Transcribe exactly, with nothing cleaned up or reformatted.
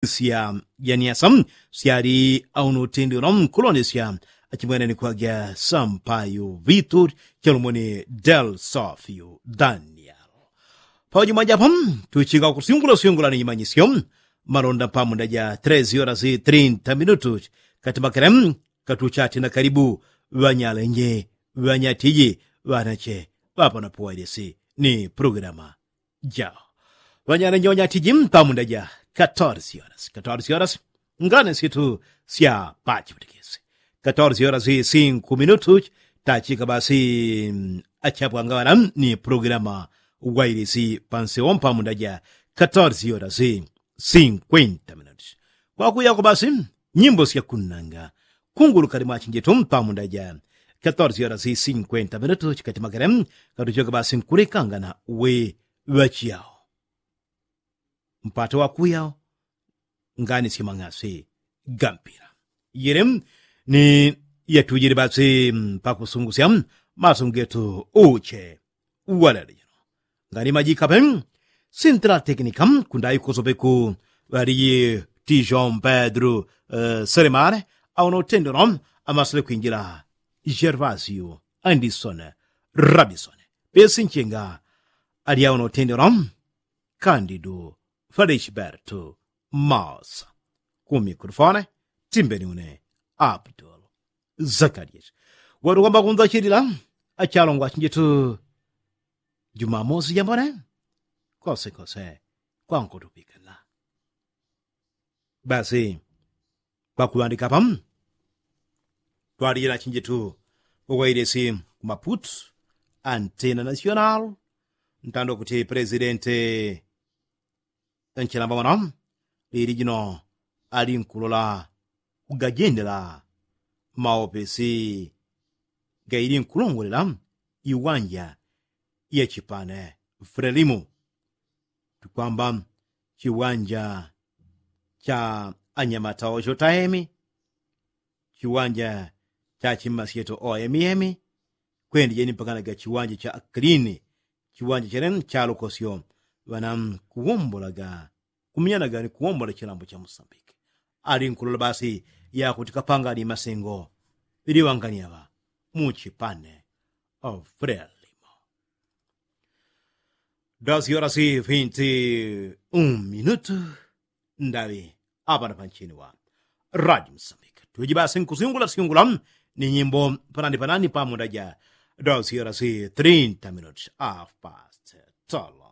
Sya janiasa syali auno utendelo nkulondesya achimwene ni kwagya sampayo vitu chalumoni del sofio daniel. Paujimwa japo tuchinga kusyungula syungula ni imanyisyo malonda pamunda ja tres horas trinta minutu katimakele katuchati na kalibu ŵanyalenje ŵanyatiji ŵanache ŵapanapo wailesi ni programa jao. Ŵanyalenje ŵanyatiji pamunda ja katorsi horas katorsi horas ngane situ sya pachiputikisi katorsi horas sinku minutu tachika basi. Achapwangaŵana ni programa wailesi pansewo pamunda ja katorsi horas sinkwenta minutu. Kwakuyako basi nyimbo sya kunnanga kunguluka limwachinjetu pamunda ja katorsi horas sinkwenta minutu chikatimakele katuchoka basi nkulekangana we ŵachiyao mpata wakuya ngani simang'asi gampila. Yele ni yatujile basi pakusungusya maso ngetu uche walelejeno ngani majikape sintila tekinika kundaikosopeku ŵaliyi tijon pedro selemale auna utendelo amasile kwinjila gervasio andisone rabisone pesi nchenga ali auna utendelo kandidu felishbertu masa ku mikrofone timbeni une abdul zakarias watukwamba kunzachilila achalongwa achinjitu jumamosi jambone kosekose kwankutupikila. Basi pakuŵandika pamu twalile na chinjitu uwailesi kumaputu antena nasional ntando kuti presidente nchilamba mwana lili jino ali nkulola kugajendela maopesi gaili nkulongolela iwanja ya chipane frelimu tukwamba chiwanja cha anyamata ocho taemi chiwanja cha chimasyeto oemi emi kwendijeni mpakanaga chiwanja cha aklini chiwanja chene chalukosyo ŵana kuwombolaga kuminyanaga ni kuwombola chilambo cha musambiki ali nkulola basi yakuti kapangani masengo iliŵangani aŵa muchipane ofrelimo. Dos horas y veinti un minutu ndaŵi apana panchini wa radio musambiki tuji basi nkusyungula syungula ni nyimbo panani panani pamunda ja dos horas y trinta minutu afpast tolo.